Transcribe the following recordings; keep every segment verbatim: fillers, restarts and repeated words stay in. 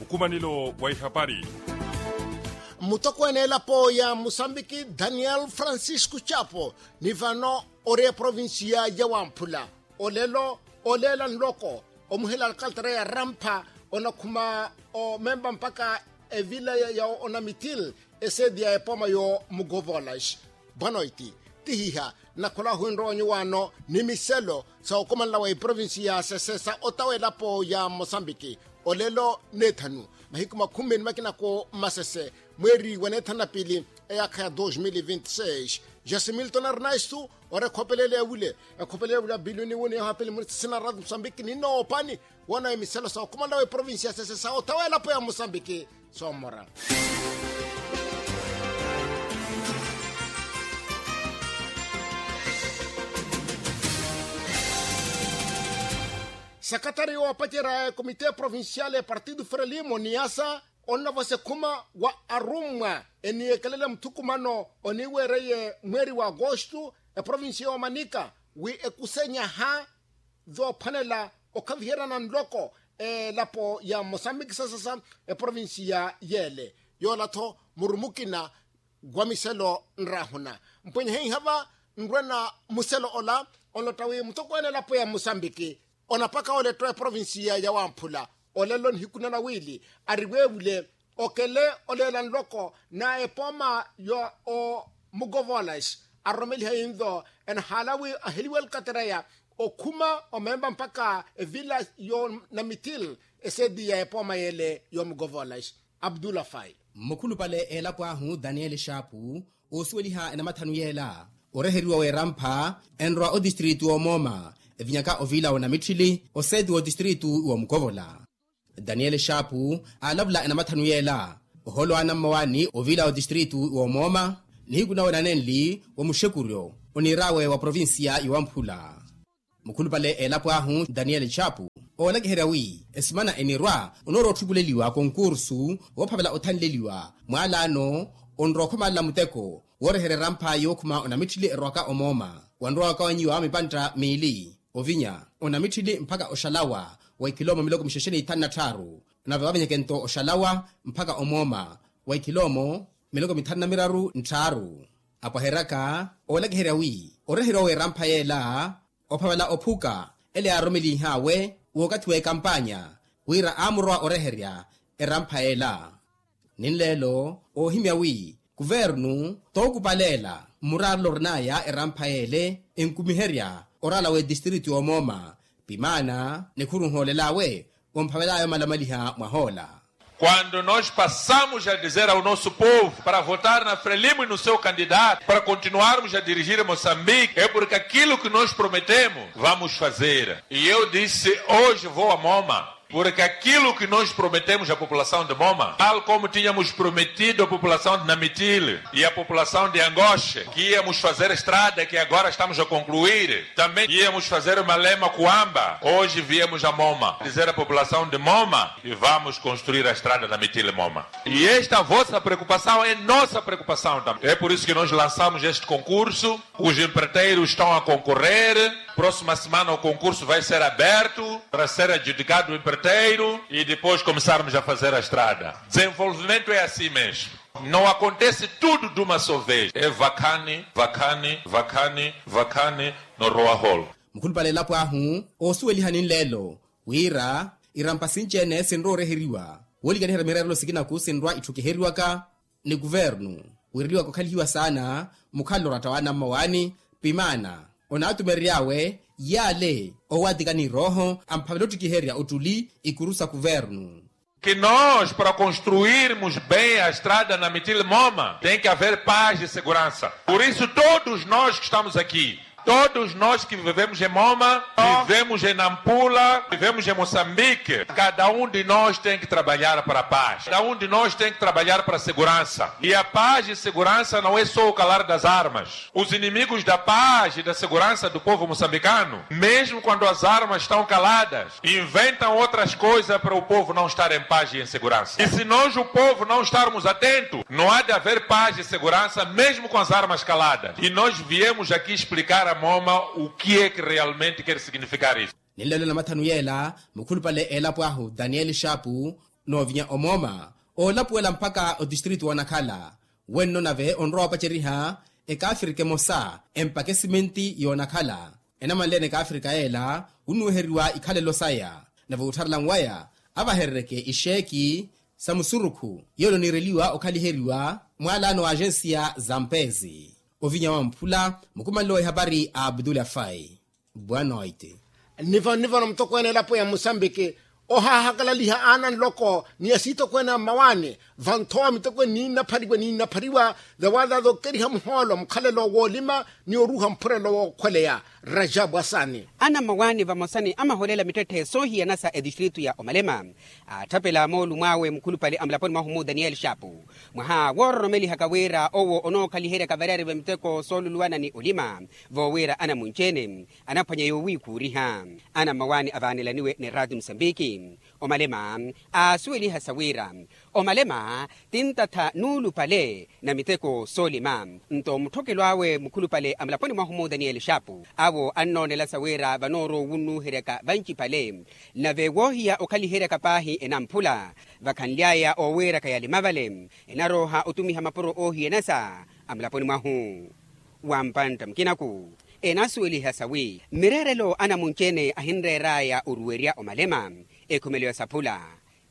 Nkumanelo wa ihapari. Mutokweene elapo ya musambiki daniel francisco chapo ni vano ori eprovinsiya ya wamphula olelo oleela nloko omuhela alkaltera ya rampha onakhuma omemba mpakha evila ya onamitil eseedi ya epooma y'omugovolaxi. Bwanoiti tihiha nakhola ohwinrowa onyuwaano ni miselo sa okomanela wa eprovinsi ya sesesa otawa elapo ya mosambiki olelo neethanu mahiku makhumi ni makinako mmasese mweeri wa neethanu na piili eyaakha ya dos mil vinti seis. Jasimilton arnaistu ori ekhopelele ya wile ekhopelele ya wile abilioni wuni yohapili muni sisina ratu mosambiki ninoopaani woona emiselo sa okomanela wa eprovinsi ya sesesa otawa elapo ya mosambiki soomora. Sakatari woopacerya ekomite provincial ya partido frelimo niasa onnavosa ekhuma wa arummwa eniyekelela muthukumano oniweereye mweeri wa agosto eprovincia yoomanika wi ekusenyaha zoophwanela okhaviheryana nloko elapo ya mosambiki sasasa eprovinsiya yeele. Yoola-tho muru mukina wa miselo nraahuna mpwenye heiha va nrwena muselo ola onlotta wi mutokweene elapo ya mosambiki onapaka oletta eprovinsiya ya wamphula olelo nihiku na nawiili ariweevule okele oleela nloko na epooma ya omugovolas aroromeliha yinvo enahaala wi aheliwe alkatereya okhuma omemba mpakha evila yo namitil eseedi ya epooma yeele y'omugovolas. Abdullah fai. Mmukhulupale elapo ahu daniel shapu oosuweliha enamathanu yeela oreheriwa w'erampha enrowa otistritu w'omooma evinyaka ovila w'onamitthili oseeti w'otistritu w'omukovola. Daniel shapu aalavula enamathanu yeela oholo anammawaani ovila w'otistritu w'omooma nihiku nawe nanenli wa muxekuryo oniir'awe wa provinsiya yowamphula. Mukhulupale elapo ahu daniel chapu oolakiherya wi esimana enirwa onoorowa otthukuleliwa konkursu woophavela othanleliwa mwaalaano onrowa okhomalela muteko wooreherya erampha yookhuma onamitthili erowaka omooma wanrowa wakawanyiwa mipantta miili ovinya onamitthili mpakha oxalawa wa ikhilomo miloko mixexe n'ithanu na tthaaru nave wavenyeke-nto oxalawa mpakha omooma wa ikhilomo miloko mithanu na miraru ntthaaru. Apwaheryaka oolakiherya wi oreheriwa w'erampha yeela ophavela ophuka ele yaaroromeliih'awe w'okathi w'ekampanya wira aamurowa oreherya erampha yeela. Ninleelo oohimya wi kuvernu tookupaleela mmuraarelo orin'aya erampha yeele enkumiherya oraala w'etistritu y'omooma pimaana nikhuru nhoolel'awe omphavel'aya omalamaliha mwahoola. Quando nós passamos a dizer ao nosso povo para votar na frelimo e no seu candidato para continuarmos a dirigir moçambique é porque aquilo que nós prometemos vamos fazer e eu disse hoje vou a moma porque aquilo que nós prometemos à população de moma tal como tínhamos prometido à população de namitil e à população de angoche que íamos fazer estrada que agora estamos a concluir também íamos fazer malema kuamba hoje viemos a moma dizer à população de moma e vamos construir a estrada na mitile moma e esta vossa preocupação é nossa preocupação também é por isso que nós lançamos este concurso os empreiteiros estão a concorrer próxima semana o concurso vai ser aberto para ser adjudicado o empreiteiro e depois começarmos a fazer a estrada desenvolvimento é assim mesmo não acontece tudo de uma só vez é vakhani vakhani vakhani vakhani norowa holo. Mukhulupale elapo ahu oosuwelihani nleelo wira irampa sinci-ene sinrowa oreheriwa woolikaniherya mireerelo sikinaku sinrwa itthukiheriwaka ni kuvernu wiireliwaka okhalihiwa saana mukhalelo oratta w'anammawaani pimaana onaatumerery'awe yaale owatikani irooho amphavela ottikiherya ottuli ikuru sa kuvernu. Que nós para construirmos bem a estrada na mitile moma tem que haver paz e segurança por isso todos nós que estamos aqui todos nós que vivemos em moma vivemos em nampula vivemos em moçambique cada um de nós tem que trabalhar para a paz cada um de nós tem que trabalhar para a segurança e a paz e segurança não é só o calar das armas os inimigos da paz e da segurança do povo moçambicano mesmo quando as armas estão caladas inventam outras coisas para o povo não estar em paz e em segurança e se nós o povo não estarmos atento não há de haver paz e segurança mesmo com as armas caladas e nós viemos aqui explicar a moma o que é que realmente quer significar isso. Ninleelo namathanu yeela mukhulupale elapo ahu daniel shapu Noovinya omooma oolapuwela mpakha otistritu woonakhala wenno nave onrowa opaceriha ekaafirika emosa empaka esimenti yoonakhala enamanleene ekaafirika yeela. Wunnuwiheriwa ikhalelo saya nave wuttharelani waya avaherereke ixeeki sa musurukhu yeelo niireliwa okhaliheriwa mwaalano wa agensiya za mpeezi. Ovinya wa mphula mukumanelo wa ihapari a abdula fai. Bwanoiti. Nnivo nnivo na mutokweene elapo ya musambiki ohaahakalaliha aana nloko ni asiitokweene a mmawaani vanthowa mitokweene niinnaphariwa niinnaphariwa. Vawaazaza okeriha muhoolo mukhalelo woolima ni oruuha mphurelo wookhweleya. Rajabu asani. Ana mmawaani vamosa ni amaholela mittetthe soohiyana sa etistritu ya omalema aatthapela moolumo awe mukhulupale a mulaponi mwahu mu daniyeli xaapu mwaha woororomelihaka wira owo onookhaliheryaka variyari va miteko sooluluwana ni olima voowira anamunci-ene anaphwanya yoowiikhuuriha. Ana mmawaani avaanelaniwe ni raati musambiki omalema aasuweliha sa wira omalema tintattha nuulupale na miteko soolima. Nto mutthokelo awe mukhulupale a mulaponi mwahu mu daniyeli xaapu awo annoonela sa wira vanoorowa owunnuuheryaka vancipale nave woohiya okhaliheryaka paahi enamphula vakhanly'aya ooweeraka yalima vale enarooha otumiha mapuro oohiyana sa a mulaponi mwahu. Wa mpantta mukinaku enasuweliha sawi mireerelo anamunci-ene ahinreer'aya oruwerya omalema ekhumelo ya saphula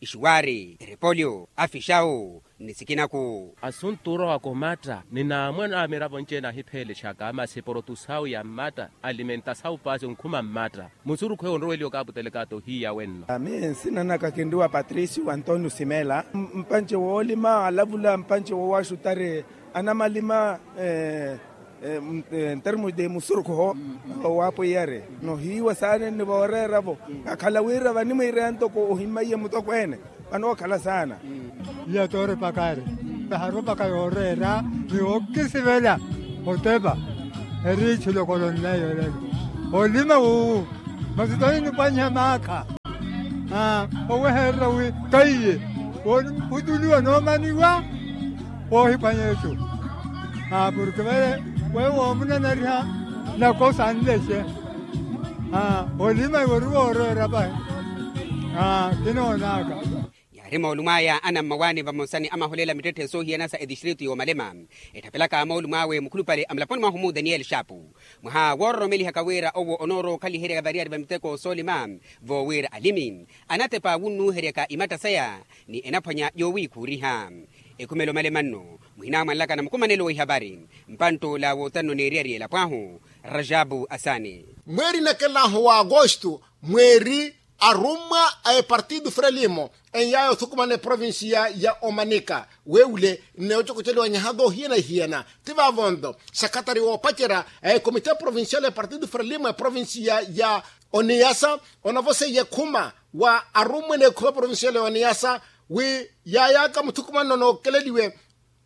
ixuwaari erepolyo afixawu ni sikinaku. Asuntu orowa komatta ni naamwe na miravo nci-ene ahipheelexaka masi porotu sawu ya mmatta alimenta sawu paasi onkhuma mmatta musurukhu eyo onroweliwa okaputelekata ohiya wenno. Ami nsina naka kinriwa patricio antonio simela mpanci woolima alavula mpanci wowaxutari anamalima ntermos de musurukhu owaapwiyari nohiiwa saanenni vooreeravo kakhala wira vanimwiireya ntoko ohimmaiye mutokweene vanookhala saana. Iya toorepakari taharopaka yooreera ni wookisivela otepa eri ichulokolo nneyo elelo olima wuwu masi tohinipwanyiha maakha owehererya wi kaiye wooniputuliwa noomaniwa woohiphwanya etu porke vale weyo woomunanariha nakosa anlexe olima iwe ori wooreera vahi kinoonaka. Yaari moolumo aya anammawaani vamosa ni amaholela mittetthe soohiyana sa etistritu y'omalema etthapelaka moolumo awe mukhulupale a mulaponi mwahu mu daniyeli xaapu mwaha woororomelihaka wira owo onoorowa okhaliheryaka variyari va miteko soolima voowira alimi anatepa wunnuuheryaka imatta saya ni enaphwanya yoowiikhuuriha. Ekhumelo omalema nno muhinamwanlaka na mukumanelo wa ihapari mpantt'ola wootanno n'eriyari y'elapo ahu rajabu asani. Mweeri nakelahu wa agosto mweeri arummwa a epartido frelimo eny'aya othukumana eprovincia ya omanika weewule nneeocokoceliwa nyaha doohiyana ihiyana ti vaavo nto sakhatari woopacerya a ekomite provincial epartido frelimo eprovincia ya oniyasa onavoseiye khuma wa arummwa n'ekhuma provincial ya oniyasa wi yaayaaka muthukumanno nookeleliwe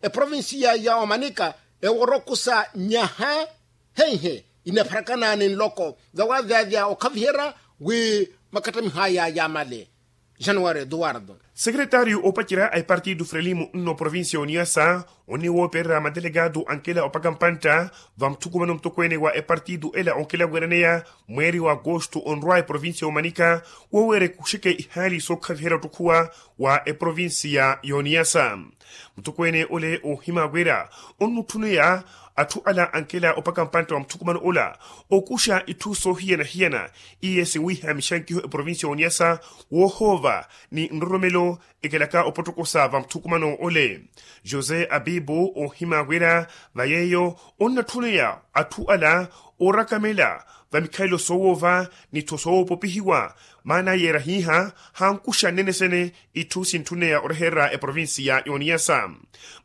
eprovincia ya omanika ewo orokusa nyaha henhe inapharakana ni nloko vawaavyavya okhaviherya wi makattamiho aya yaamale. Januwari eduwardo. Sekeretaryu oopacerya a epartido frelimo nno provincia ya oniyasa onniwoopererya matelekatu ankela opaka mpantta va muthukumano mutokweene wa epartido ela onkela weeraneya mweeri wa agosto onrwa eprovincia y'omanika wooweera ekuxeke ihaali sookhaviherya ottukhuwa wa eprovincia y'oniyasa. Mutokweene ole oohima wira onnutthuneya atthu ala ankela opaka mpantta wa muthukumano ola okuxa itthu soohiyana-hiyana iye sinwiiha mixankiho eprovincia y'oniyasa woohoova ni nroromelo ekelaka opottokosa va muthukumano ole. José abibu oohima wira va yeeyo onnatthuneya atthu ala oorakamela va mikhalelo soowoova ni tho soowoopopihiwa maana yeera hiiha hankuxa nnene sene itthu sintthuneya orehererya eprovincia y'oniyasa.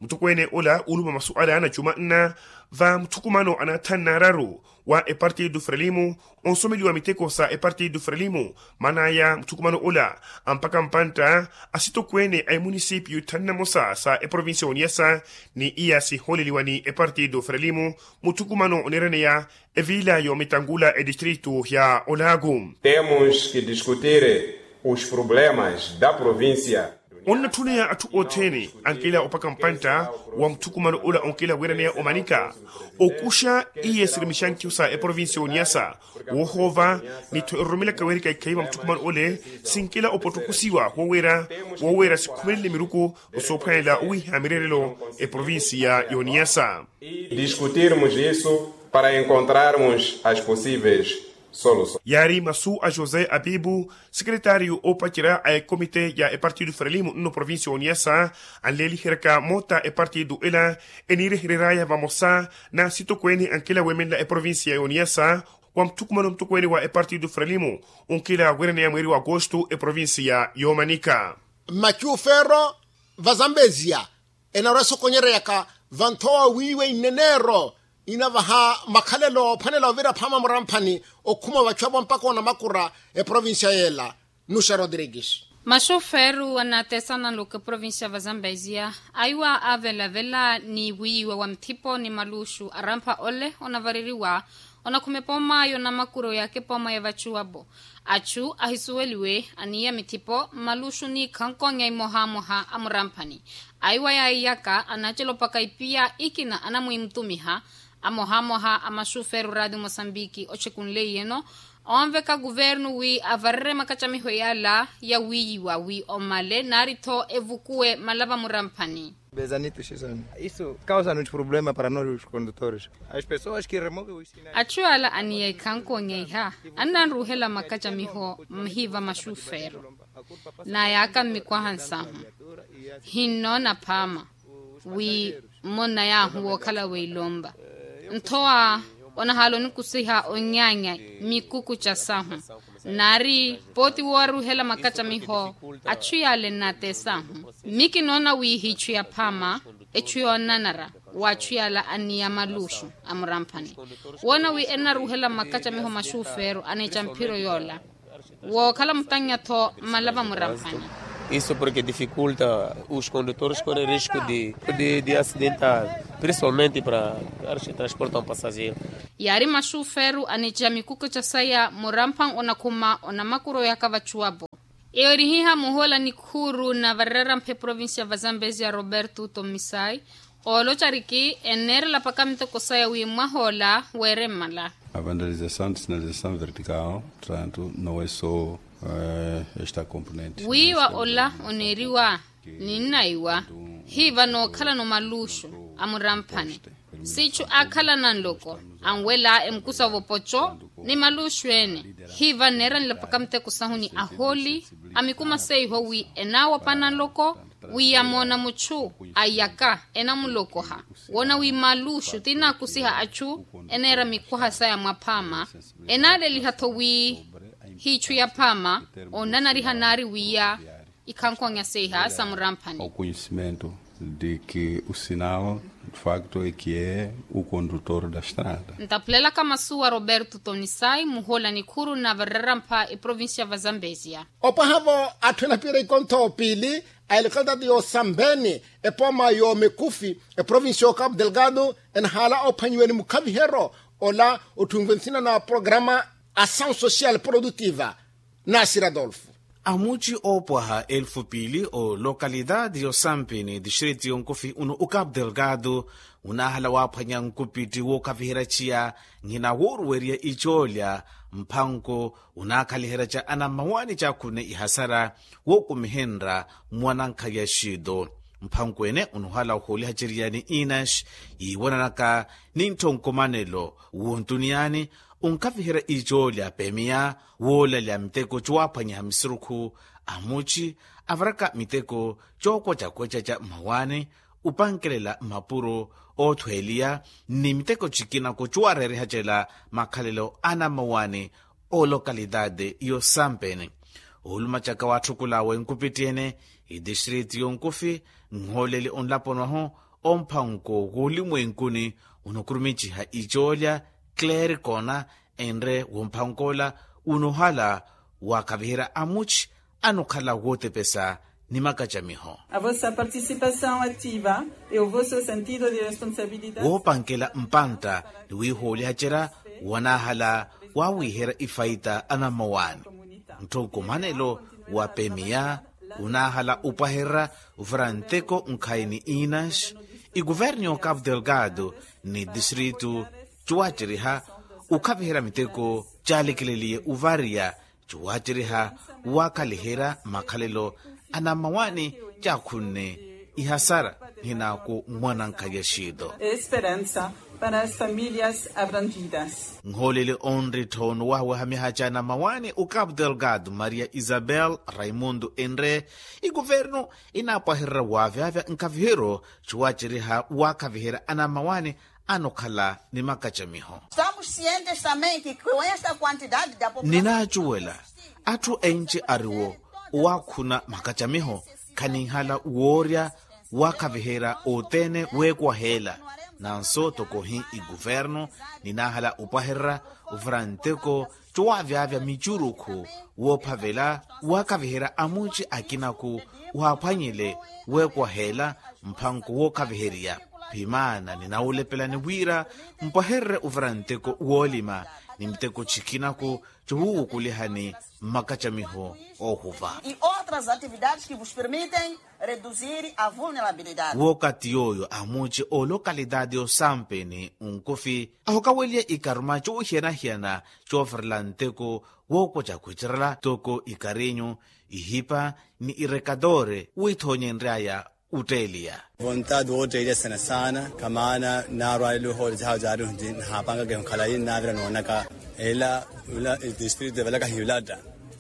Mutokweene ola ulupa masu ala na juma nna va muthukumano anathanna araru wa epartido frelimo onsomeliwa miteko sa epartido frelimo maan'aya muthukumano ola ampaka mpantta asitokweene a emunisipyu tthanu na mosa sa eprovincia y'oniyasa ni iya sihooleliwa ni epartido frelimo muthukumano oneeraneya eviila y'omitangula etistritu ya olaaku. Temos que discutir os problemas da provincia. Onnatthuneya atthu othene ankela opaka mpantta wa muthukumano ola onkela weeraneya omanika okuxa iye sirimixa nkihu sa eprovincia y'oniyasa woohoova ni-tho eroromelaka weerika ikhayi va muthukumano ole sinkela opottokusiwa wooweera wooweera sikhumelele miruku osoophwanela owiiha mireerelo eprovincia y'oniyasa. Discutirmos isso para encontrarmos as possíveis soluções. Yaari masu a josé abibu, sekeretaryu oopacerya a ekomite ya epartido frelimo nno provincia y'oniyasa anleeliheryaka moota epartido ela eniirehereryaya vamosa n'asitokweene ankela weemenela eprovincia y'oniyasa wa muthukumano mutokweene wa epartido frelimo onkela weeraneya mweeri wa agosto eprovincia y'omanika. Machu fero va zambezia enarwa esokonyereyaka vanthowa wiiwa ineneero inavaha makhalelo ophwanela ovira phaama muramphani okhuma vachu avo mpaka onamakura eprovincia yeela. Nuxa rodrigues. Maxuferu anaatesana nluku eprovincia va zambezia aiwa avelavela ni wiiwa wa mthipo ni maluxu arampha ole onavareriwa onakhuma epooma y'onamakuro yaaka epooma ya vachuwapo. Achu ahisuweliwe aniiya mithipo mmaluxu ni ikhankonya imohamoha a muramphani. Aiwa yaiyaka anacelopaka ipiya ikina anamwimutumiha amohamoha a maxuferu raati mosambiki ochekunleiyeno onveka kuvernu wi avarerye makacamiho yala ya wiiyiwa wi omale naari-tho evukuwe malava muramphani. Bezanito xisoni isu kausa noti problema para nosi os kondutores. As pessoas ki remove os sinais. Achu ala aniya ikhankonya iha annanruhela makacamiho mhiva maxuferu. Nayaaka mmikwaha nsahu hinnoona phaama wi mmonna yaahu wookhala weilompa nthowa onahaala onikusiha onyaanya mikuku ca sahu naari pooti wooruhela makacamiho. Achu yaale nnaatesahu mmi kinoona wi hichu ya phaama echu yoonanara wa achu yaala aniya maluxu a muramphani woona wi ennaruhela makacamiho maxuferu aneeca mphiro yoola wookhala mutannya-tho mmalava muramphani. Isu porke difikulta os kondutores kore risku di asidenta prinsipalmente para transporta un pasajero. Yaari maxuferu aneeca mikuku ca saya muramphani onakhuma onamakuro yaaka vachuwapo. Eyo eri hiha muhoola nikhuuru na varererampha eprovincia va zambezia roberto tomisai ooloca riki enneerela paka miteko saya wi mwahoola weere mmala. Avanalizasaw ni sinalizasaw vertikaw tantu noweso esta komponente wiiwa ola oneeriwa ninnaiwa hiva nookhalano maluxu a muramphani sichu aakhalana nloko anwela emukusa vopoco ni maluxu ene hiva nneeranela paka miteko sahu ni ahooli a mikuma seiho wi enaawapana nloko wi yamoona muchu ayaka enamulokoha woona wi maluxu ti naakusiha achu eneera mikwaha saya mwaphaama enaaleliha-tho wi hichu yaphaama onanariha naari wiya ikhankonya seiha sa muramphani. Okunyisimento di ki usinao de facto ekiye ukondutor da strada. Ntapulelaka masu wa roberto tonisai muhoola nikhuru na varerampha eprovincia va zambezia. Opwaha-vo atthu enapiira ikontho piili a elokalitaati y'osambeni epooma y'omekufi eprovincia y'okapu delgado enahaala ophwanyiwa ni mukhaviheryo ola otthunve nsina na programa asawu social produtiva. Nasira adolfo. Amuci oopwaha elfu piili olokalitaati y'osampini distrito y'onkufi uno ukapu delgado unaahala waaphwanya nkupitti wookaviherya ciya nhina wooruwerya icoolya mphanko unaakhaliheraca anammawaani caakhurune ihasara wookumihenra mwanankhaya xiito mphankwene unuhala ohooliha ceriyani inax yiiwananaka ni ntthonkomanelo wontuniyani onkaviherya icoolya peemiya woolalya miteko cowaaphwanyiha misurukhu amuci avaraka miteko cookwecakwecatya mmawaani opankelela mmapuro oothweeliya ni miteko cikinako cowareerihacela makhalelo a anammawaani olokalitaati y'osampeni oolumacaka waatthukula wenkupitthi ene itistriti yonkufi nhooleli onlaponi wahu omphanko w'olimwenkuni onokurumiciha icoolya clericona enre womphanko ola unohala waakaviherya amuci anokhala wootepesa ni makacamiho. A vossa participação ativa e o vosso sentido de responsabilidade woopankela mpantta ni wiihoolihacerya wanaahala waawiiherya ifaita anammawaani ntthonkomanelo wa pemiya Onaahala opwahererya ovira nteko nkhayi ni inas, ikuvernu y'okapu delgado ni distritu, cuwaceriha okhaviherya miteko caalekeleliye ovariya, cuwaceriha wakhaliherya makhalelo anamawani, caakhunne ihasara nhinaku mwanankhaya xito. Esperansa para as familias abrangidas. Nhooleli onrittho nowahawaha mihaca anamawani okapu delgado maria isabel raimundo enre, ikuvernu inaapwahererya waavyavya nkhaviheryo cuwaceriha waakhaviherya anamawani anokhala ni makacamiho. Ninaacuwela atthu enci ariwo owaakhuna makacamiho, khaninhala woorya waakhaviherya othene weekwaheela. Nanso tokohi ikuvernu ninaahala opwahererya ovira nteko cowaavyavya micurukhu woophavela waakhaviherya amunci akinaku waaphwanyele weekwaheela mphanko wookhaviheriya. Phimaana ninawulepelani wira mpwahererye ovira nteko woolima ni miteko cikinaku cowuwukulihani mmakacamiho oohuva. Otras atividades ki vos permitem reduzir a vulnerabilidade. Wookati yooyo amuci oolokalitaati osampeni onkufi ahokaweliye ikaruma coohiyana-hiyana cooferela nteko wookwaca kwicerela toko ikarinyu ihipa ni irekatore withoonyenryaya. Otteeliya vontaati wootteeliya sena saana kamaana naarwaleliwe hoole jahawe jaari nhaapangaka ehu khalayi nnaavira noonaka ela ula distritu evalaka hiyulatta.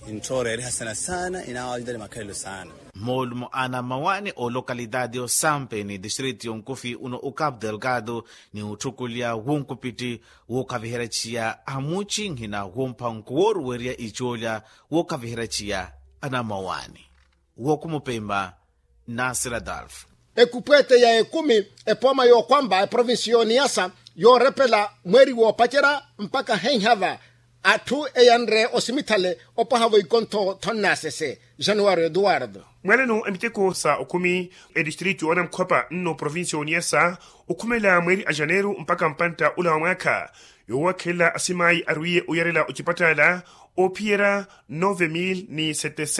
Intthoora eeriha sena saana inaawalita ni makhalelo saana. Moolumo ana mmawaani oolokalitaati osampeni distritu yonkufi uno okapu delgado ni otthukuliya wonkupitti wookhaviherya chiya amuci nhina womphanko wooruwerya icoolya wookhaviherya chiya anammawaani. Wookhumupemba nasira dalfu. Ekupweete ya ekumi epooma yookwamba eprovinciyo niyasa yoorepela mweeri woopacerya mpakha henhava atthu eyanre osimithale opwahavo ikontho thonnasese januwari eduwardo. Mwaleno emiteko sa okhumi edistritu onamkhwapa nno provincia oniyasa okhumela mweeri a janeru mpakha mpantta ola wa mwaakha yoowakhelela asimayi arwiye oyarela ocipatala oophiyerya nove mil ni setecento.